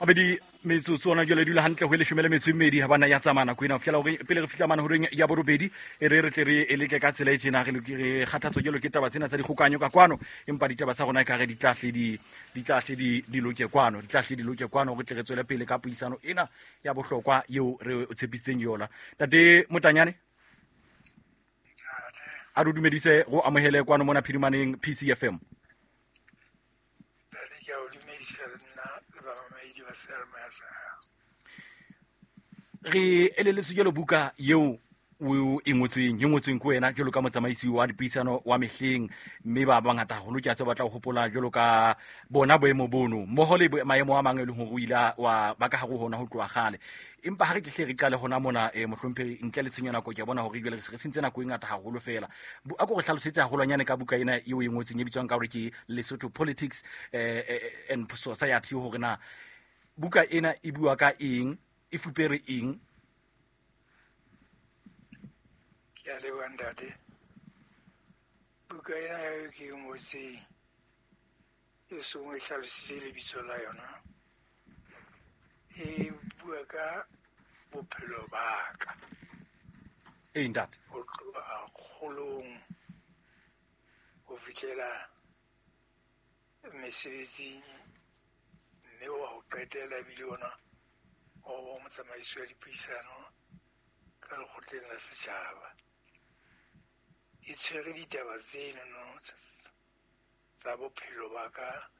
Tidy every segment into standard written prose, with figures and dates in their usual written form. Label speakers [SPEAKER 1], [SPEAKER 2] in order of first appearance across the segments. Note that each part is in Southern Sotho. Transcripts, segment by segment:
[SPEAKER 1] Abedi metsotso ona jwale dula hantle ho e leshome le metso e mmedi ha bana ya tsamaya nako ena ho fihlela hore pele re fihla mane horeng ya borobedi e re re tle re e leke ka tsela e tjena re loke re kgathatswa jwalo ke taba tsena tsa dikgokanyo ka kwano empa ditaba tsa rona e kare di tla hle di di tla hle di di loke kwano di tla hle di loke kwano re tle re tswele pele ka puisano ena ya bohlokwa eo re o tshepisitseng yona. Ntate Motanyane, a re dumedise go amohele kwano mona Phirimaneng PCFM.
[SPEAKER 2] Ntate, ke a o dumedisa le nna le bamamedi ba seyalemoya sa hao.
[SPEAKER 1] Re eleletswe jalo buka eo o e ngotsweng e ngotsweng ke wena jalo ka motsamaisi wa dipuisano wa mehleng, mme ba bangata haholo ke a tseba ba tla o hopola jalo ka bona boemo bono mmoho le maemo a mang e leng hore o ile wa ba ka hare ho hona ho tloha kgale. Empa ha re tle re qale hona mona, mohlomphehi, ntle le tshenyo nako, ke a bona hore jwale re se re sentse nako e ngata haholo fela. A ko re hlalosetse haholwanyane ka buka ena eo e ngotseng e bitswang ka hore ke Lesotho Politics and Society, hore na buka ena e bua ka eng, e fupere eng?
[SPEAKER 2] Ke a leboha ntate. Buka ena eo ke e ngotseng e seng e hlalositse lebitso la yona, e bua ka bophelo ba ka.
[SPEAKER 1] Ee, ntate.
[SPEAKER 2] Ho tloha kgolong ho fihlela mesebetsing, mme wa ho qetela ebile ona wa ho ba motsamaisi wa dipuisano ka lekgotleng la setjhaba. E tshwere ditaba tseno tsa bophelo ba ka,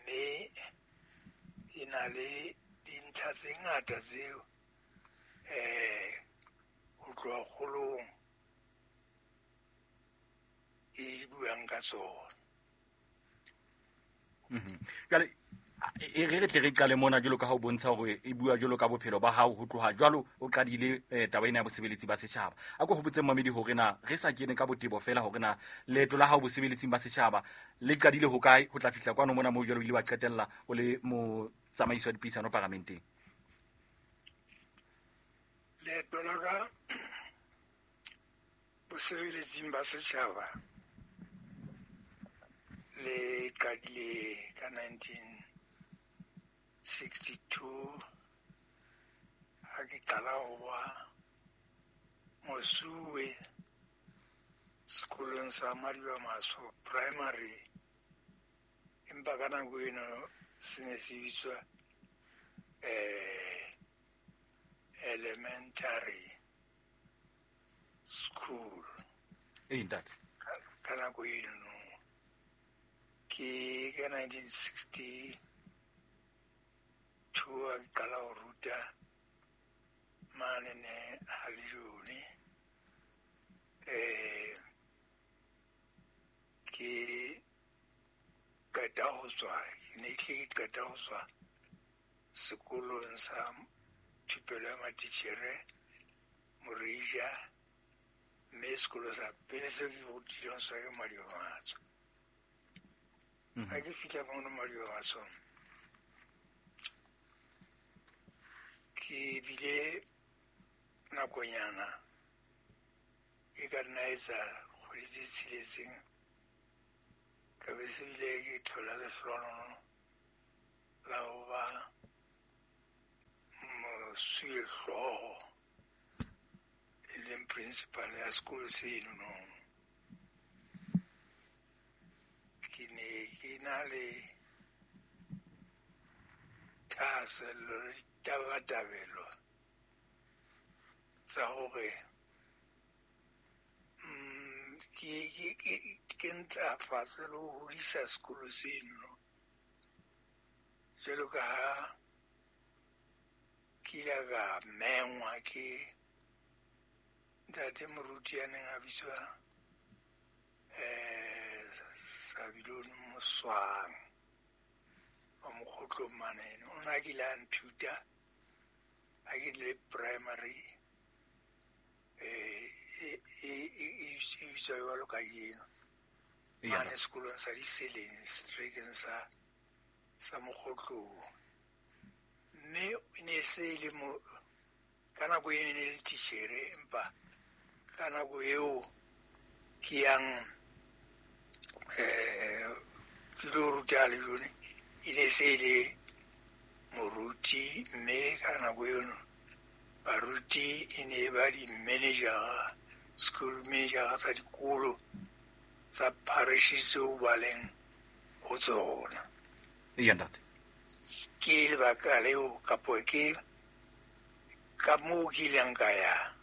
[SPEAKER 2] mme e na le dintlha tse ngata tseo ho tloha kgolong e buang ka tsona.
[SPEAKER 1] Jwale e re re tle re qale mona jwalo ka ha o bontsha hore e bua jwalo ka bophelo ba hao ho tloha jwalo o qadile taba ena ya bosebeletsi ba setjhaba. A ko hopotse mmamedi hore na re sa kene ka botebo fela hore na leeto la hao bosebeletsing ba setjhaba le qadile hokae ho tla fihla kwano mona moo jwalo o ile wa qetella o le motsamaisi wa dipuisano paramenteng.
[SPEAKER 2] Leeto la ka bosebeletsing ba setjhaba le qadile ka 1962 ha ke qala ho ba mosuwe sekolong sa Madiba-Maso Primary, empa ka nako eno se ne se bitswa elementary school.
[SPEAKER 1] Ee, ntate.
[SPEAKER 2] Ka nako eno ke ka 1962 ha ke qala ho ruta mane ne Halejone. Ke qeta ho tswa, ke ne ke qeta ho tswa sekolong sa thupelo ya matitjhere Morija, mme sekolo sa pele seo ke rutileng sona ke Madiba-Matsho. Ha ke fihla mono Madiba-Matsho, ke bile nakonyana e ka nna etsa kgwedi tse tsheletseng, ka be se bile ke thola lehlohonolo la ho ba mosuwehlooho, e leng principal ya sekolo seno no. Ke ne ke na le thahasello le ditabatabelo tsa hore ke ntlafatse le ho hodisa sekolo seno jwalo ka ha ke ile ka mengwa ke ntate moruti ya neng a bitswa Sabilone Moswang wa Mokgotlong mane. O ne a kile a nthuta ha ke le primary, e bitswa jwalo kajeno mane sekolong sa Diseleng, seterekeng sa Mokgotlong. Mme e ne se le mo ka nako e ne le titjhere, empa ka nako eo ke yang ke lo ruta Halejone, e ne se le moruti, mme ka nako eno baruti e ne ba di-manager, school manager tsa dikolo tsa parish tseo ba leng ho tsona.
[SPEAKER 1] Eya ntate.
[SPEAKER 2] Ke lebaka leo kapo ke ka moo ke ileng ka ya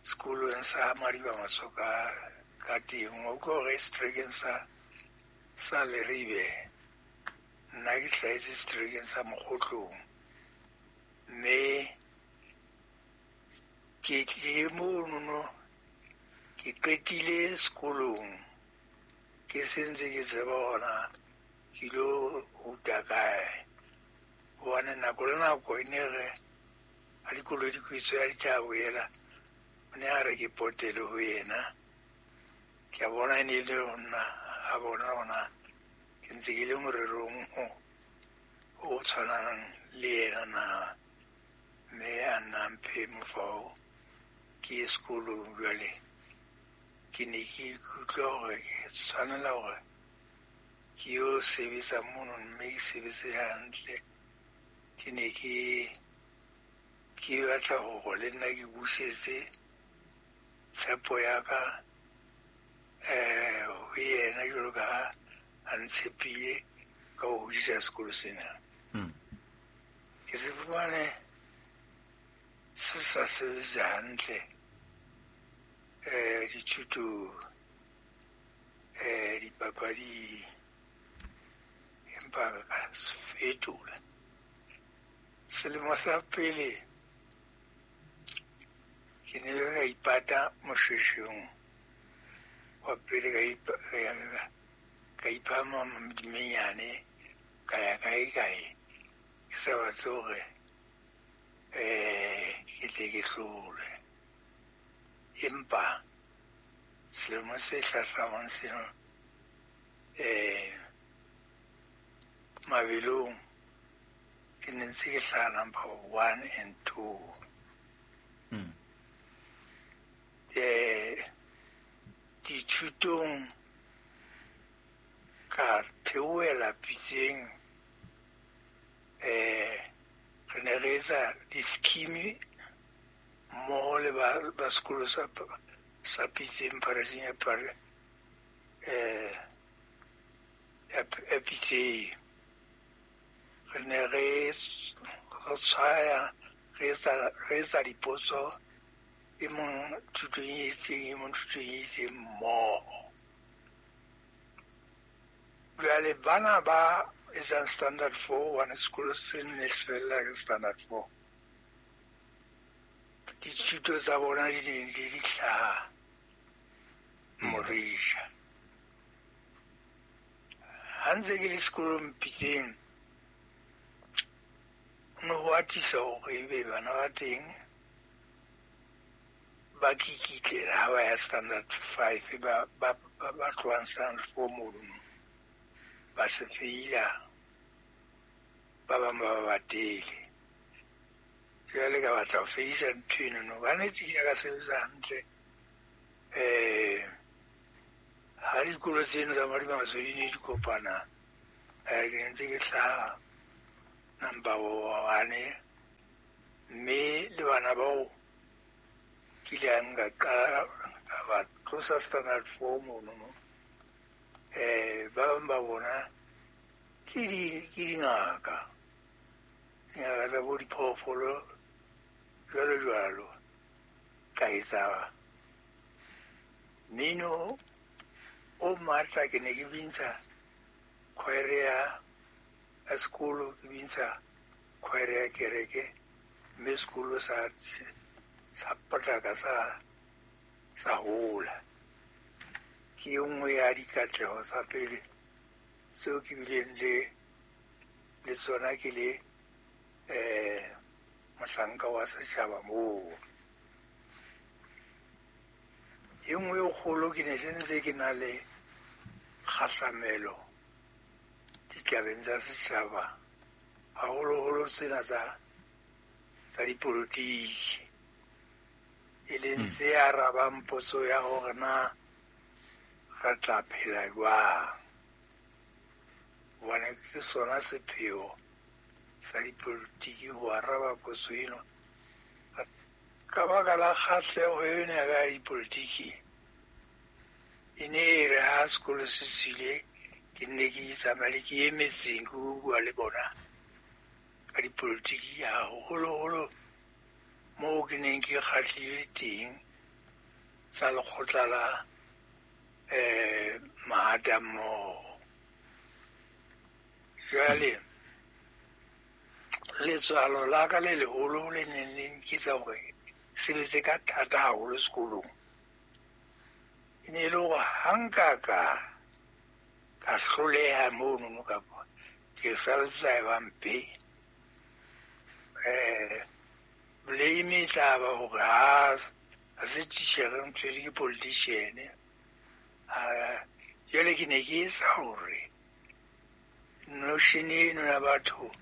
[SPEAKER 2] sekolong sa Madiba Masoka ka teng. O utlwa hore seterekeng sa Leribe, nna ke hlahetse seterekeng sa Mokgotlong, mme ke tlile monono, ke qetile sekolong ke sentse ke tseba hona ke ilo ruta kae, hobane nako le nako e ne re ha dikolo di kwetswe ya dithabo ela, o ne a re ke potele ho yena. Ke a bona e ne e le ho nna, a bona hona ke ntse ke le morerong o tshwanang le yena na, mme a nna mphe mofao ke ye sekolong. Jwale ke ne ke ikutlwa hore ke tshwanela hore ke yo sebetsa mono, mme ke sebetse hantle. Ke ne ke batla hore le nna ke busetse tshepo ya ka ho yena jwalo ka ha a ntshepile ka ho hodisa sekolo sena. Ke se fumane se sa sebetse hantle dithutong, dipapading, empa ka se fetola. Selemo sa pele ke ne ka ipata moshweshweng wa pele, ka ipha dimenyane, ka ya kae kae, ke sa batle hore ke tle ke hlolwe. Empa selemo se hlahlamang seno mabelong ke ne ntse ke hlaha number 1 and 2. Dithutong ka theohela pitseng, re ne re etsa di-scheme mmoho le ba sekolo sa Pitseng, parisheng ya Pitseng. Re ne re tshwaya, re etsa dipotso, e mong thutong e itseng, e mong thutong e itseng mmoho. Jwale bana ba etsang standard 4, hobane sekolo se ne se fella ka standard 4, dithuto tsa bona di ne di di hlaha Morisha. Ha ntse ke le sekolong Pitseng, ho ne ho atisa hore ebe bana ba teng ba kikitlela ha ba ya standard 5, ba tlohang standard 4 mono, ba se feila, ba bang ba batele. Jwale ka batla ho fedisa ntho eno. Ka nnete ke ka sebetsa hantle. Ha dikolo tseno tsa Madiba Masoka di ne di kopana, ke ne ntse ke hlaha number 1, mme le bana bao ke ile nka qala ka ba tlosa standard 4 mono. Ba bang ba bona ke dingaka, dingaka tsa bo diphoofolo jwalo jwalo. Ka etsa mmino o matla, ke ne ke bintsha khwaere ya sekolo, ke bintsha khwaere ya kereke, mme sekolo sa potlaka sa hola. Ke e nngwe ya dikatleho tsa pele tseo ke bileng le tsona ke le mohlanka wa setjhaba moo. E nngwe e kgolo, ke ne se ntse ke na le kgahlamelo ditabeng tsa setjhaba, haholoholo tsena tsa dipolotiki, e leng tse arabang potso ya hore na re tla phela jwang, hobane ke sona sepheo sa dipolotiki ho araba potso eno. Ka baka la kgahleho ena ya ka ya dipolotiki, e ne e re ha sekolo se tswile, ke nne ke tsamaye ke ye metseng ke bua le bona ka dipolotiki, haholoholo moo ke neng ke kgahlile teng tsa lekgotla la mahatammoho. Jwale letswalo la ka le leholo le neng le nketsa hore ke sebetse ka thata haholo sekolong, e ne e le hore ha nka ka hloleha monono kapa ke saletse tsa eba mpe, blame e tla ba hore ha se titjhere ntho ke politician. Jwale ke ne ke etsa hore notion eno ya batho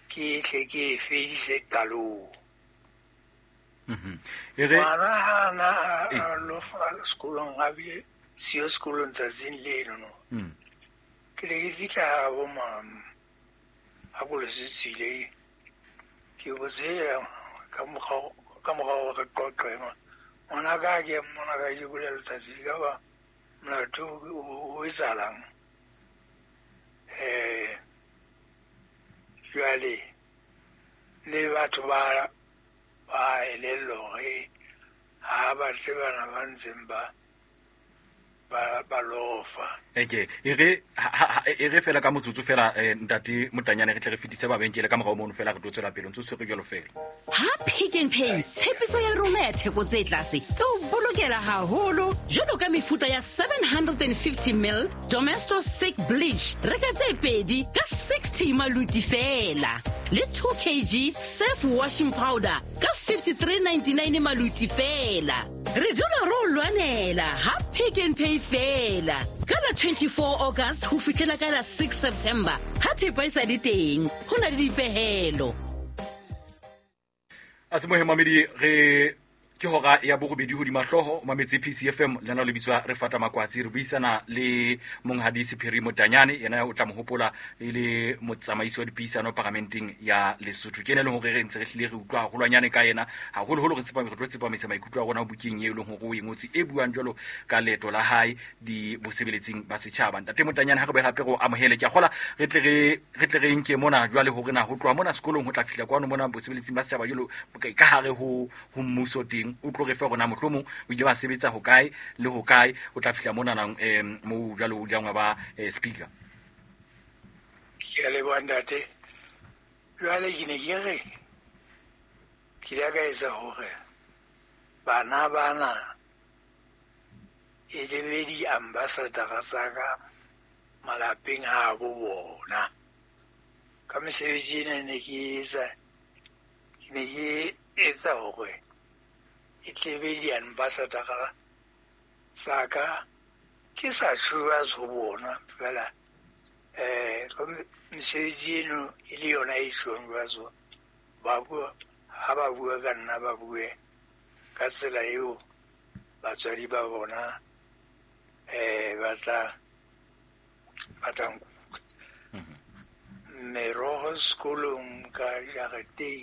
[SPEAKER 2] ke tle ke e fedise qalong. Ngwana ha na a lo fa sekolong, a bile siyo sekolong tsatsing leno no. Ke ne ke fihla ha bo mama ha kolo se tswile, ke botse ka mokgwa wa re qoqe, ngwana ka ke mmona kajeko le letsatsi ka ba molato o etsahalang. Jwale le batho ba elellwa hore ha batle bana ba ntseng ba lofa.
[SPEAKER 1] Eke e re fela ka motsotso fela, ntate Motanyane, re tle re fetise babenkele ka morao mono fela, re tlo tswela pele ntse o tshwere jwalo fela.
[SPEAKER 3] Ha Pick n Pay, tshepiso ya rona ya theko tse tlase e o bolokela haholo, jwalo ka mefuta ya 750 ml Domestos thick bleach, reka tse pedi ka 60 maluti fela, le 2 kg Surf washing powder ka 53.99 maluti fela. Re dula re o lwanela ha Pick n Pay fela ka la 24 August ho fihlela ka la 6 September, ha thepa e sa le teng, ho na le dipehelo.
[SPEAKER 1] A se mohe mamedi, re ke hora ya borobedi hodima hlooho, o mametse PCFM, lena le bitswa re fata makwatsi. Re buisana le monghadi Sephiri Motanyane, yena o tla mo hopola e le motsamaisi wa dipuisano paramenteng ya Lesotho. Ke ena e leng hore re ntse re hlile re utlwa haholwanyane ka yena, haholoholo re tlo tsepamisa maikutlo a rona bukeng e leng hore o e ngotse, e buang jwalo ka leeto la hae di bosebeletsing ba setjhaba. Ntate Motanyane, ha re boela hape re o amohele. Ke a kgola re tle re nke mona jwale hore na ho tloha mona sekolong ho tla fihla kwano mona bosebeletsing ba setjhaba jwalo ka hare ho mmuso teng, o tlo re fe rona mohlomong o ile wa sebetsa ho kae le ho kae, o tla fihla mona nang moo jwale o ileng wa ba speaker.
[SPEAKER 2] Ke a leboha ntate. Jwale ke ne ke re ke ile ka etsa hore bana bana e le be di-ambassador tsa ka malapeng a bo bona. Ka mesebetsi ena ne ke etsa, ke ne ke etsa hore e tle be di-ambassador tsa ka, ke sa tjho ho bona fela, ka mesebetsi eno e le yona e tjhong jwalo, ba bua ha ba bua ka nna, ba bue ka tsela eo batswadi ba bona ba tla nkuka. Meroho sekolong ka jareteng